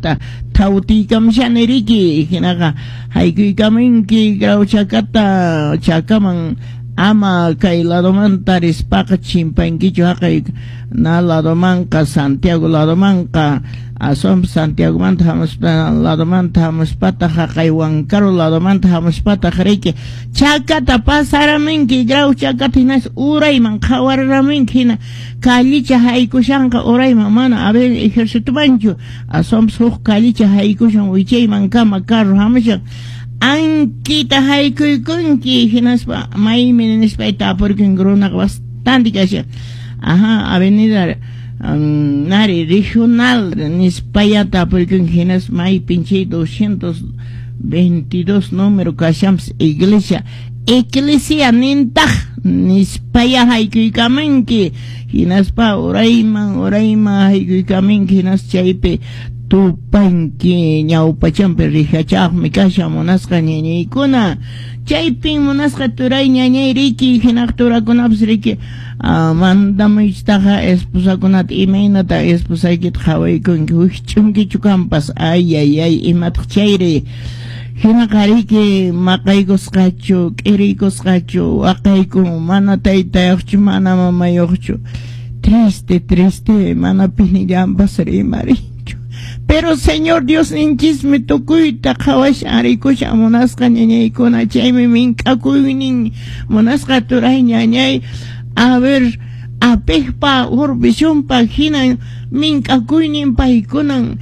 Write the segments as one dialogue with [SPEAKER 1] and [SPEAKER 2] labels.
[SPEAKER 1] Chakata thawtiykamushani riki, hinaqa haykuykamunki Grau Chakata, Chakaman ama kay ladomanta rispaqa chimpankichu haqay na ladomanqa, Santiago ladomanqa, aswanpas Santiagomanta hamuspa ladomanta hamuspataq haqay Huancaru ladomanta hamuspataq riki Chakata pasaramunki, Grau Chakata hinas urayman qhawariramunki, hina callicha haykushanqa urayman, mana a ver ejercitomanchu, aswanpas huk callicha haykushan wichayman kama carro hamushan, ankita haykuykunki, hinaspa maymi nispay tapurkunki, runaqa bastante kashan, ajá, avenida nari regional nispaya tapurkunki, hinaspa maypin chay 222 número kashanpas iglesia, eclesia nintaq nispaya haykuykamunki, hinaspa urayman urayman haykuykamunki, hinaspa chaypi tupanki ñawpachanpi rijachaqmi kashan munasqa ñañaykuna, chaypin munasqa turay ñañay riki, hinaq turakunapas riki mandamuychitaqa esposakunata imaynata esposaykita qhawaykunki, wikch'unkichu kanpas, ay ay ay imataq chayri, hinaqa riki maqaykusqachu k'iriykusqachu waqaykun, mana taytayuqchu mana mamayuqchu, triste triste mana pinillanpas rimarinchu, pero Señor Diosninchismi tukuyta qhawashan rikushan munasqa ñañaykuna, chaymi mink'akuynin munasqa turay ñañay, a ver apejpa World hina mink'akuynin paykunan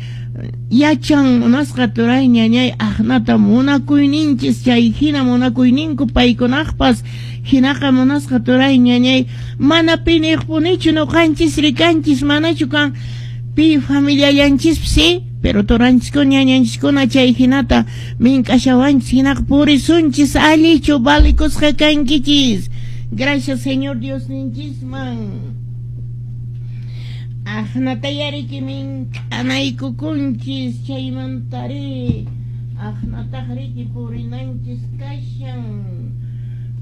[SPEAKER 1] yachan munasqa turay ñañay aqnata munakuyninchis, chay hina munakuyninku paykunaqpas, hinaqa munasqa turay ñañay mana piniqpunichu nuqanchis rikanchis, manachu kan pi familiallanchispi sí, pero turanchiskuna ñañanchiskuna chay hinata mink'ashawanchis, hinaqa purisunchis allichu valikusqa kankichis. Gracias Señor Diosninchisman. Aqnata yariki mink'anaykukunchis chaymantari aqnataq riki purinanchis kashan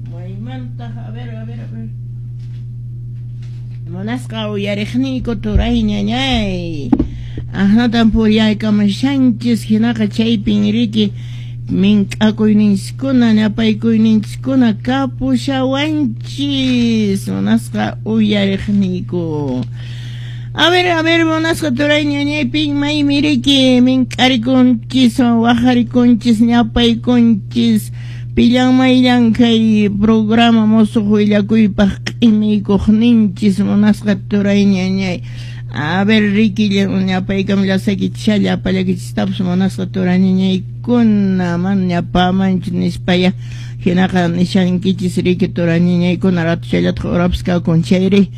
[SPEAKER 1] maymantaq, a ver, a ver, a ver, munasqa uyariqniyku turay ñañay, aqnatan puriyaykamushanchis, hinaqa chaypin riki mink'akuyninchiskuna ñapaykuynинchiskuna kapushawanchis munasqa uyariqniyku. A ver, munasqa turay ñañay pin maymi riki mink'arikunchis waqarikunchis ñapaykunchis, pillan mayllan kay programa musuq willakuypaq q'imiykuqninchis munasqa turay ñañay. A ver, riki ñapaykam llasaykichisha llapallakichistapas munasqa turay ñañaykuna, mana ñapamanchu nispaya hinaqa nishankichis riki turay ñañaykuna ratuchallataq urapas kakun chayri,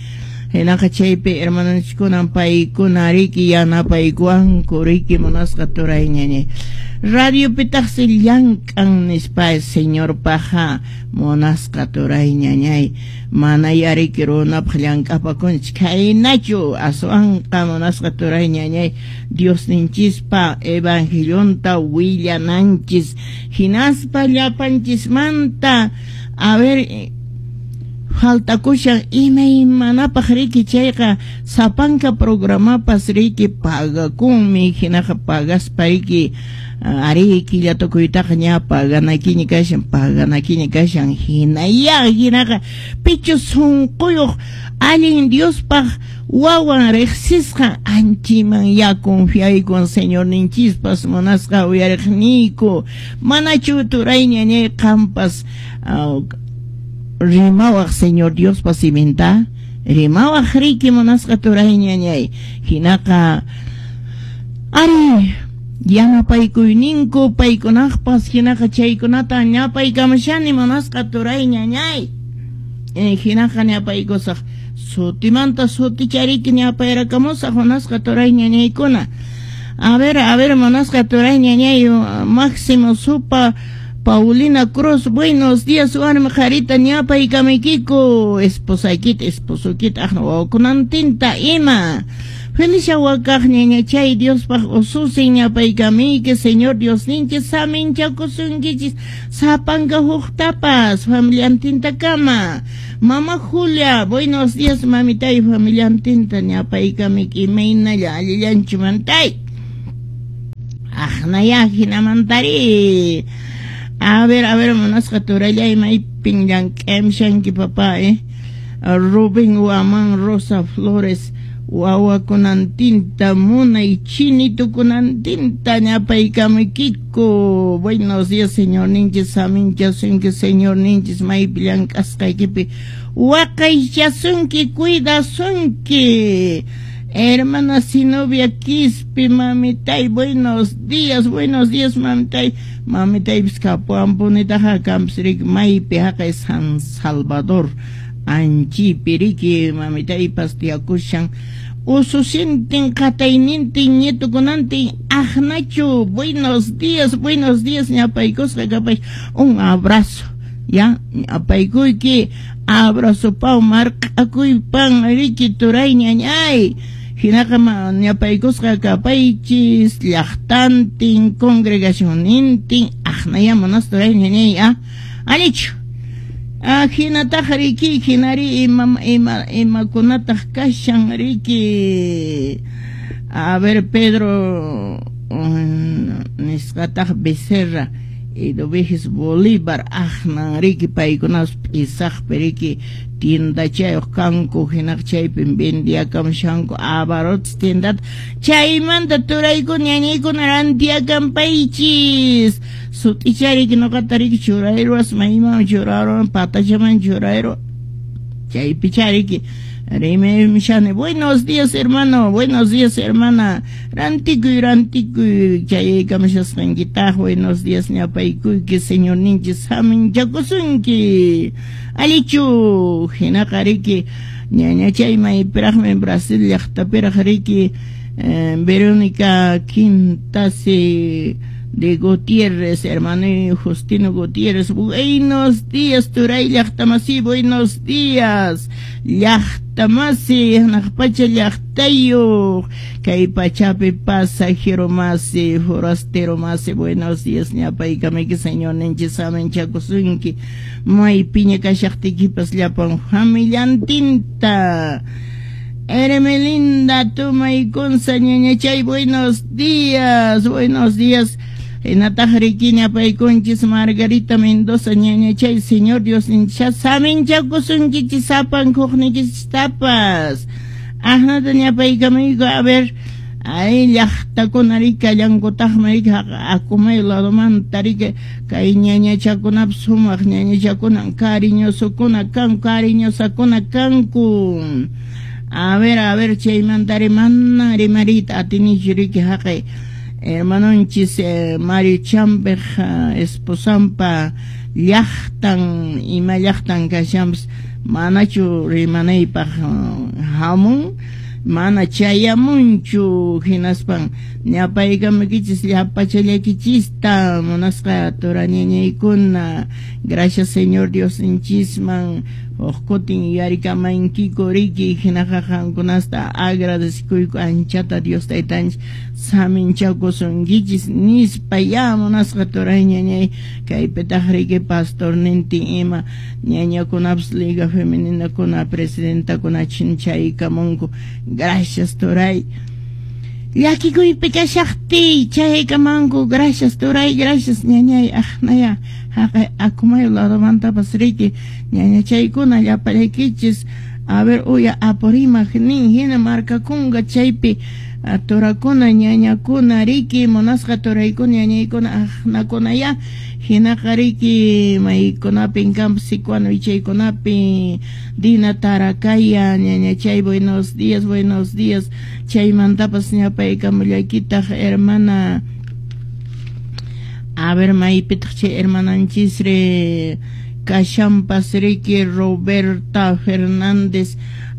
[SPEAKER 1] hinaqa chaypi hermanonchiskuna paykuna riki yanapaykuwanku riki munasqa turay ñañay. Radiopitaqsi llank'an nispa Señorpaqa munasqa turay ñañay, mana yariki runapaq llank'apakunchik khaynachu, aswanqa munasqa turay ñañay Diosninchispa evangelionta willananchis, hinaspa llapanchismanta a ver faltakushan imaymanapaq riki chayqa sapanka programapas riki pagakunmi, hinaqa pagaspa riki ari killa tukuytaqa ña paganakiña kashan, paganakiña kashan, hinaya hinaqa pichu sunquyuq allin Diospaq wawan riqsisqa anchiman ya confiaykun Señorninchispas munasqa uyariqniyku, manachu turay ñañay qampas rimawaq Señor Diospa siminta, rimawaq riki munasqa turay ñañay, hinaqa ari yanapaykuyninku paykunaqpas hinaqa chaykunata ñapaykamushani munasqa turay ñañay, hinaqa ñapaykusaq sutimanta sutichariki ñapayrakamusaq munasqa turay ñañaykuna. A ver, munasqa turay ñañay Máximo Supa Paulina Cruz, buenos días, warmi qharita ñapaykamaykiku, esposaykita, esposokita, aqna wawakunantinta ima. Felicia wakaq ñañachay Diospaq ususin ñapaykamiyki, Señor Diosninchis saminchakusunkichis sapanka huktapas familiantintakama. Mama Julia, buenos días, mamitay familiantinta ñapaykamiyki, imaynalla allillanchu mantay. Aqnaya hinamantari. A ver, munasqa turallay maypin llank'amshanki papá, Rubén Guamán Rosa Flores wawakunantinta munay chinitukunantinta ñapaykamuykiku. Buenos días, señor ninchis, saminchasunki, señor ninchis, maypi llank'asqaykipi waqaychasunki, cuidasunki. Hermana Sinovia Quispe, mamitay, buenos días, mamitay. Mamitaypis kapuampunitaqa kanpis riki maypi haqay San Salvador anchipi riki mamitaypas tiyakushan. Ususintin qataynintin ñitukunantin aqnachu. Buenos días, ñapaykusqa kapay. Un abrazo, ya, ñapaykuyki, abrazo pau marq'akuypan riki turay ñañay. Hinaqa ñapaykusqa kapaychis llaqtantin congregacionnintin aqnaya munas turay ñañay, alichu. Hinataq riki hinari imakunataq kashan riki. A ver, Pedro nisqataq Becerra Eduviges Bolívar aqnan riki paykunas p'isaqpi riki tiendachayuq kanku hinaq chaypin vendiakamshanku abarrotes tiendata chaymanta turaykuna ñañaykuna rantiakanpaychis. Sut'ichariki nuqata riki churayruwas mayman churayruwan patachaman churayru chaypichariki rimaymishani. Buenos días, hermano, buenos días, hermana. Rantikuy chayaykamashasqankitaq. Buenos días, ñapaykuyki, señor ninchis haminchakusunki. Alichu hinaqa riki ñañachay maypiraqmi Brasil llaqtapiraq riki Verónica Quintasi de Gutiérrez, hermano Justino Gutiérrez. Buenos días, turay llaqtamasi, buenos días. Llaqtamasi, hanaq pacha llaqtayuq, kay pachapi pasajero masi, forastero masi, buenos días, ñapaykamiki, señor ninchis haminchakusunki. Maypiña kashaqtiykipas llapan familiantinta. Hermelinda Tumaykunza ñañachay, buenos días, buenos días. Hinataq riki ñapaykunchis Margarita Mendoza ñañachay, señor Dios nincha saminchakusunkichis sapan huqnikichistapas. Aqnata ñapaykamuyku, a ver, ay llaqtakuna riki kallankutaqmi riki Akumay ladomanta riki kay ñañachakunapas sumaq ñañachakuna cariñosokuna kanku, cariñosakuna kanku. A ver, chaymantari mana rimariyta atinichu riki haqay hermanonchis Mario Chambeq esposampa llaqtan ima llaqtan kashanpas manachu rimanaypaq hamun mana chayamunchu hinaspan ñapaykamukichis llapachallakichista munasqa turañañaykuna. Gracias, Señor Dios ninchisman huk kutin yuyarikamankiku riki hinaqa qankunasta agradecikuyku anchata Dios taytanchis saminchakusunkichis nispa ya munasqa turay ñañay. Kaypitaq riki pastornintin ima ñañakunapas liga femeninakuna presidentakuna chinchaykamunku. Gracias, turay. Llakikuypi kashaqtiy chaykamanku. Gracias, turay, gracias, ñañay. Aqnaya haqay Akumayo ladomantapas riki ñañachaykuna llapallaykichis. A ver, uya Apurímac nin hina markakunqa chaypi turakuna ñañakuna riki munasqa turaykuna ñañaykuna aqnakuna ya hinaqa riki maykunapin kanpas Sicuano wichaykunapi Dina Tarakaya ñañachay, buenos días, buenos días. Chaymantapas ñapaykamullaykitaq hermana. A ver, maypitaq chay hermananchisri kashanpas riki Roberta Fernández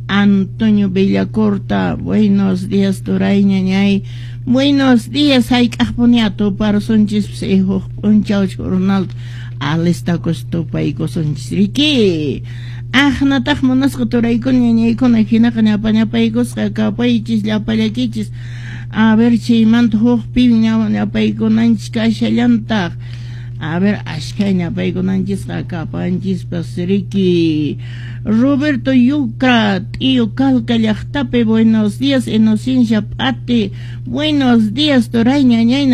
[SPEAKER 1] Antonio Villacorta. Buenos días, turay ñañay. Buenos días, hayk'aqpuni atuparsunchis huk p'unchaw jornal alistakus tupaykusunchis riki. Aqnataq munasqa turaykuna ñañaykuna hinaqa ñapañapaykusqa kapaychis llapallakichis. A ver, chaymanta hukpi ñapaykunanchis kashallantaq. A ver, ashkha ñapaykunanchisqa kapanchispas riki. Roberto Yucra, tío Calca llaqtapi, buenos días. Inocencia Pati, buenos días, turay ñañay.